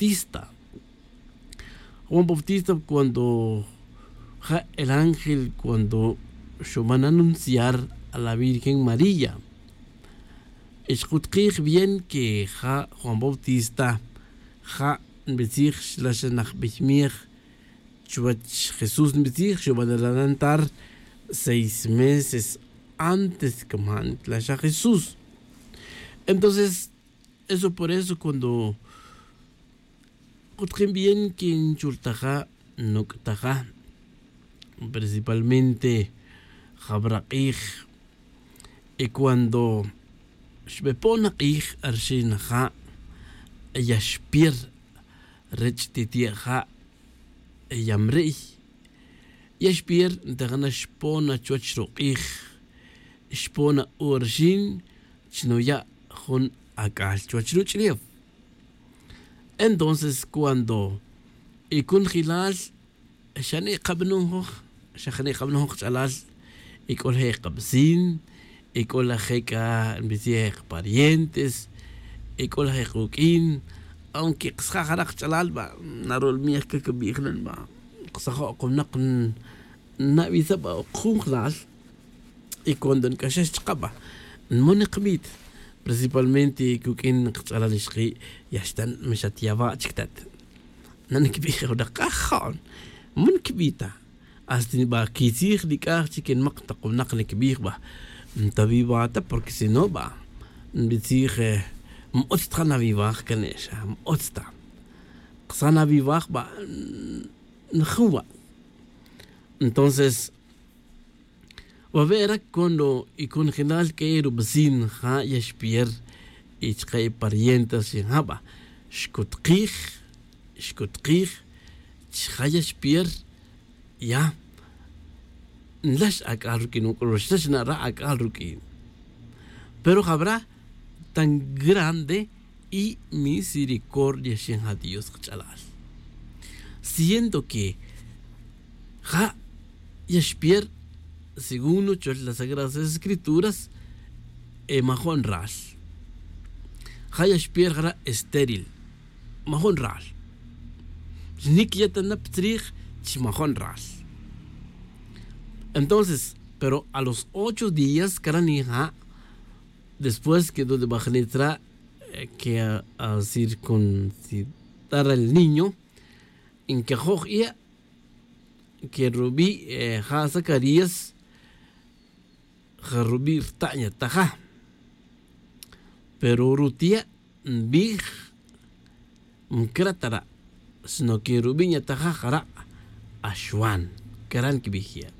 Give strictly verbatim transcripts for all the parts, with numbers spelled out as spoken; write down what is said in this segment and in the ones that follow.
Bautista. Juan Bautista, cuando ja el ángel cuando xuban anunciar a la virgen María, y xkutkij bien que ja Juan Bautista ja nbitzij xla xa najbey miej chuwech Jesús nbitzij, xuban adelantar seis meses antes que man tla xa Jesús. Entonces eso por eso cuando kutjin bien que nchultaja nuk'taja, principalmente jabrak'ij. Y cuando xbepon ak'ij arxin ja ya xpier rech titi'ja' ya mri'y. Ya xpier ntajana xpona chuwech ruk'ij, xpona u arxin chnuya' jun ak'al chuwech ruch'ulef. Entonces cuando y kunjilal xane' kabanon joj, xa jane' kabanon joj kach'alal, y k'o laje' kabecin, y k'o laje' k'a nbicij je' kaparientes, y k'o laje' kuk'in. Aunque kasa jara' kach'alal ba narol miej ka kabij nan ba, kasajo' ka winak nabisa ba ok jun jlal. Y cuando nk'axax chaka' ba nmon nkabit, principalmente kuk'in kach'alal ixki' ya xtan ma xatyawa' chik tat. Na nkibij je' winak kajo'n, ma nkibij ta. Hasta ba kitzij nik'aj chik nmak tak winak nkibij ba, ntaviva ta porque si no ba nbitzij, ma utz ta ja navivaj kane' xa ma utz ta. Kasa navivaj ba njuwa'. Entonces wawe' ra cuando y kunjilal k'e rubecin ja ya xpier, y chaka' y parientes xin ja ba xkutkij, xkutkij chi ja ya xpier. Ya nlax ak'al ruk'in uk'ul xlax nara' ak'al ruk'in. Pero jabra tan grande y misericordia xin ja dios kach'alal. Siendo que ja ya xpier según nuchol las sagradas escrituras, e majo'n ral. Ja ya xpier jara' estéril, majo'n ral. Xnik ya ta na pa tzrij chi majo'n ral. Entonces pero a los ocho días karan ija', después que donde bajnit ra' que a circuncidar el niño, nkajoj ie' que rubi' ja zacarías ja rubi' rta'n ya taja. Pero rutie' nbij mcra ta ra', sino que rubi' nyataja jara' axwan. Cara' nkibij ye'.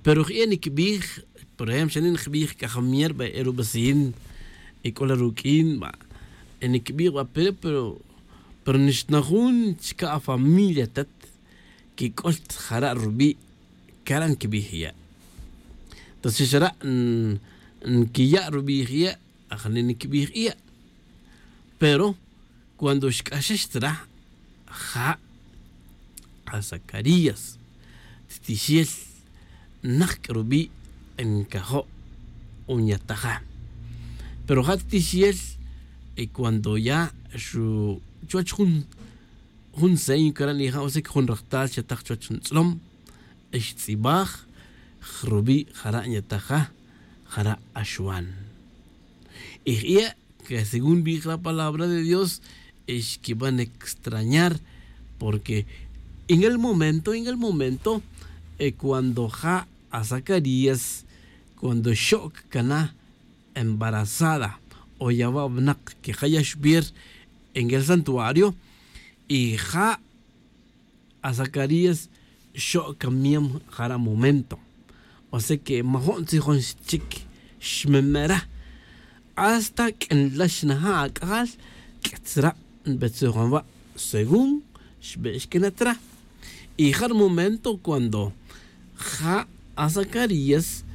Pero jie' nkibij, por ejemplo xa nin jbij c'a jamier ba e rubecin, e c'o la ruq'uin ba, e nkibij ba pero pero nixta na jun chica afamilia tat, que c'o ta jara' rubi'. Cara' nkibij ye'. Entonces xara' nquiya' rubi' je' ajne' niquibij ie'. Pero cuando xc'axex tzra' ja' a zacarías, titixel najc' rubi' ncajo' unyataja. Pero ja' titixel y cuando ya xu chuwech jun jun seño cara' nija' usic jun rajtal xataj chuwech jun tz'lom, xtz'ibaj rubi' jara' nyataja jara' axwan. Y jie' que según nbij la palabra de dios, xquiban extrañar porque en el momento en el momento cuando ja' a zacarías cuando xo'c cana embarazada o yawa' winak que ja' ya xbir en el santuario, y ja' a zacarías xo'c camiam jara' momento. Osea que majo'n tzijon chic xmemera hasta q'uinlax naja' ac'ajal q'uitzra' nbetzijon wa' según xbe'xquinatra. Y ja' ri momento cuando ja' a zacarías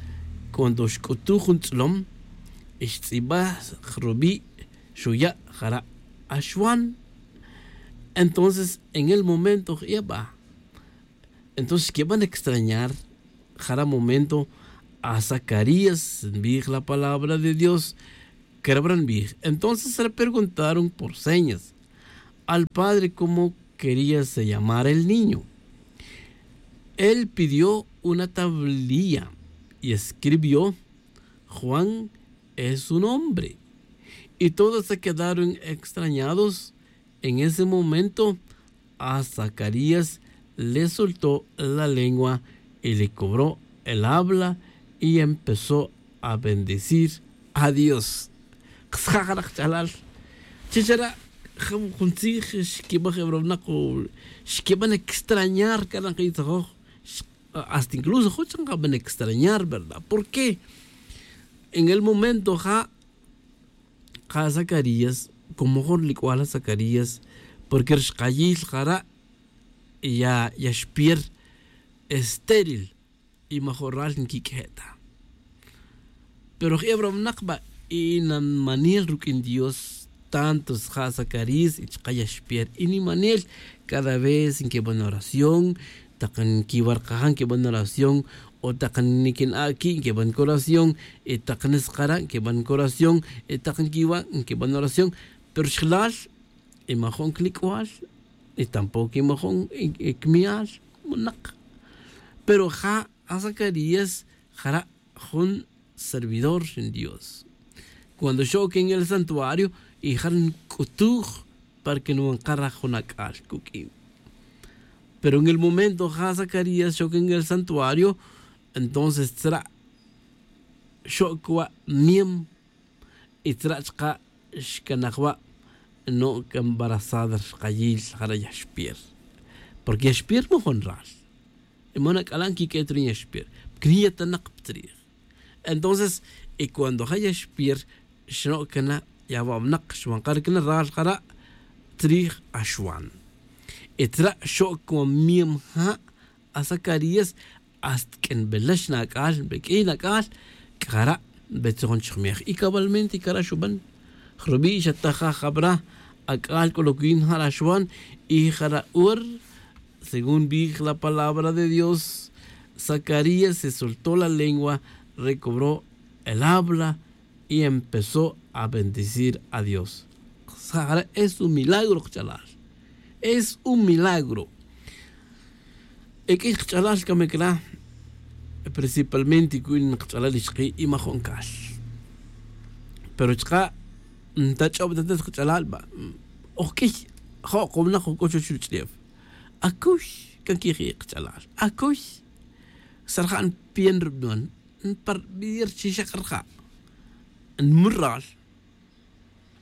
cuando xc'utuj jun tz'lom y xtz'ibaj rubi' xuya' jara' axwan. Entonces en el momento jie' ba entonces xquiban extrañar jara' momento a zacarías nbij la palabra de dios. Querebra nbij entonces repreguntaron por señas. al padre cómo quería se llamar el niño. Él pidió una tablilla y escribió: "Juan es su nombre". Y todos se quedaron extrañados. En ese momento, a Zacarías le soltó la lengua y le cobró el habla y empezó a bendecir a Dios. Qsja' jara' qch'alal. Chi chara' jun jun tzij xkibaj e rawinaq, xkiban extrañar, cara' nkitzajoj. Hasta incluso jun chaka' nkaban extrañar, ¿verdad? ¿Por qué? En el momento ja' ja' Zacarías, como jun ri lik'ual ja' Zacarías, porque ri xkayil jara' ya ya xpier estéril, y majun ral nkik'e' ta. Pero je' rawinaq va, y nimanel ruk'in Dios, tanto ja' Zacarías y chaka' ya xpier, y nimanel cada vez nkiban oración, taq nkiwa' ri kaja' nkiban oración, o taq nikin-a' ki' nkiban oración, y taq nisqara' nkiban oración, y taq nkiwa' nkiban oración. Pero xjelal, y majun kilik'ual, y tampoco y majun y kimial, winaq. Pero ja' a Zacarías jara' jun servidor ri Dios. Cuando xo'ok en el santuario, y jara' nk'utuj para que nwanqar jun ak'al kuk'in. Pero en el momento ja' Zacarías xo'ok en el santuario, entonces tzra' xo'ok wa' miem, y tzra' chaka' xkanaj wa' no' embarazada ri xkayil jara' ya xpier. Porque ya xpier majun ral. Y man ak'ala' nkik'e' ta ri ya xpier, porque ni yetanak pa tzrij. Entonces, y cuando ja' ya xpier, xno' kana' ya wawinaq, xwanqar kana' ral jara' tzrij axwan. Y tzra' xo'ok wa' miem ja' a Zacarías, hasta q'uinbelax na ak'al, nbek'iy na ak'al, c'a jara' nbetzojon chijmej. Y cabalmente cara' xuban. Rubi' xataj ja' jabra, ak'al c'o lo que yin jara' xuban, y jara' hora, según bij la palabra de Dios, Zacarías se soltó la lengua, recobró el habla y empezó a bendecir a Dios. Jara' es un milagro kach'alal. Es un milagro. E q'uiy kach'alal camic la, principalmente cu'in kach'alal ixki' y majun cal. Pero chaka' nta ch'ob ta ta kach'alal va. Oj q'uiy, jo' kawnak o c'o chuwech ruch'ulef. Acuy, can quiji' kach'alal. Acuy. Sarja' npiyan rubinon. Nparbier chi xak rija'. Nmur ral.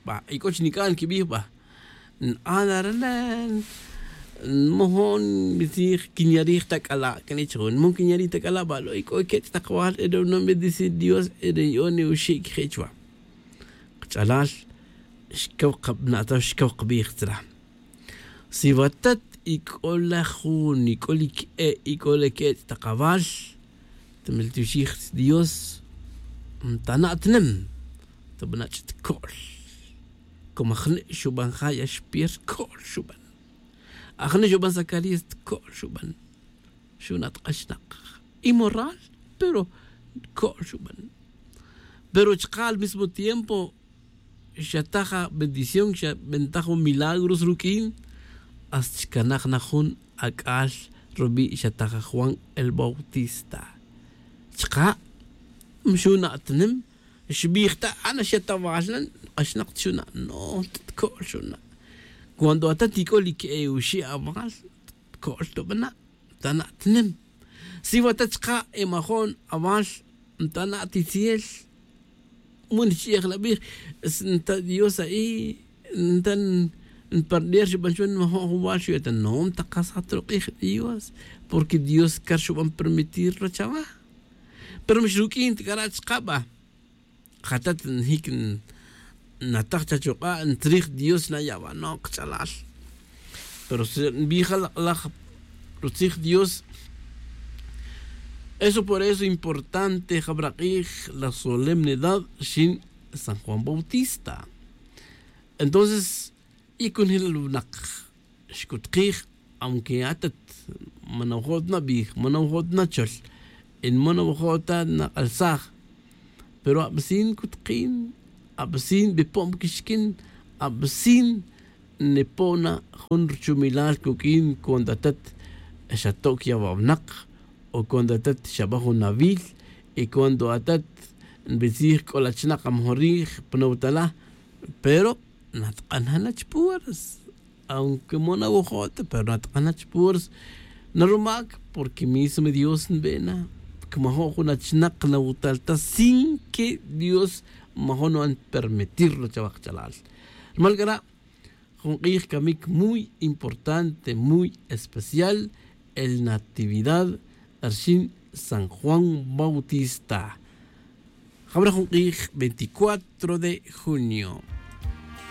Va, y c'o chi nic'an quibij va. N-ana rana. Nmojon bitzij quinyarij ta c'ala' can ichajun nmojon quinyarij ta c'ala' va lo' y c'o quech' tak val ere unon bendecir dios ere yo'on iwuxi' quije' chuva. Kach'alal xcaw kabna'taw xcaw kabij tzra. Si watat y c'o la jun y c'o li que'e' y c'o la que'e' ch'tak awal, tamil tixij dios. Ntana'tnem tabana' ch'it co'l. Como ajne' xuban ja' ya xpier co'l xuban. Ajne' xuban zacarías co'l xuban. Xuna' tk'axnak y moral pero co'l xuban. Pero chaka' al mismo tiempo xataj a bendición xabentaj jun milagros ruq'uin. Hasta xcanaj na jun ac'al rubi' xataj a juan el bautista. Chaka' xuna'tanem xbij ta ana xatawal na. K'axnak ta xuna' no ta tco'l xuna'. Cuando atat ic'o li que'e uxi' awal tco'l tubana'. Ntana'tnem si watat chaka' emajo'n awal. Ntana'titziel muni ch'i'ej la bij. Nta dios a'i nta npardier xuban chuwan nmajo'n jun wal xuya' ta no ntakasaj ta ruk'ij dios. Porque dios car xuban permitir ro chawa. Pero mix ruq'uin ta c'ara' chaka' ba. Jatat njic nataj chachuk'a' ntzrij dios na yabano' kach'alal. Pero si nbij ja lak'laj rutzij dios. Eso por eso importante jabrak'ij la solemnidad xin san juan bautista. Entonces y conjelal winak xcutkij aunque atat man awajo' ta nabij man awajo' ta nachol y man awajo' ta nak'alsaj. Pero abecin cutkin abecin bipon pa quixquin abecin nipona jun ruchumilal cuq'uin cuando atat xatoc ya wawnak, o cuando atat xaba jun awil, y cuando atat nbitzij c'o la chinak amejor rij pa nawutala, pero natk'an na chpuras. Aunque mo nawojot pero natk'an na chpuras. Narumac porque mismo dios nbena, que majo' jun achinak nawutal ta sin que dios majo' nu'an permitirlo chawa kachalal. Rumal c'ara' jun k'ij camic muy importante, muy especial, el natividad rxin san juan bautista. Jabra jun k'ij veinticuatro de junio.